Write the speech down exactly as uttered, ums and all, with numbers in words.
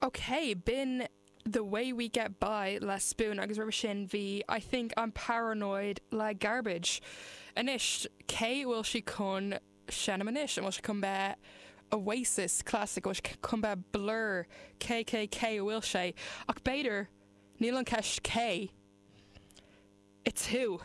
Ok, b'in The Way We Get By le Spoon agus roimhe sin bhí I Think I'm Paranoid le Garbage. Anois cé bhfuil sí chun seinm anois an bhfuil sé chun bheith Oasis Classic bhfuil sé chun bheith Blur KKK bhfuil sé ach b'fhéidir níl an ceist cé. It's who.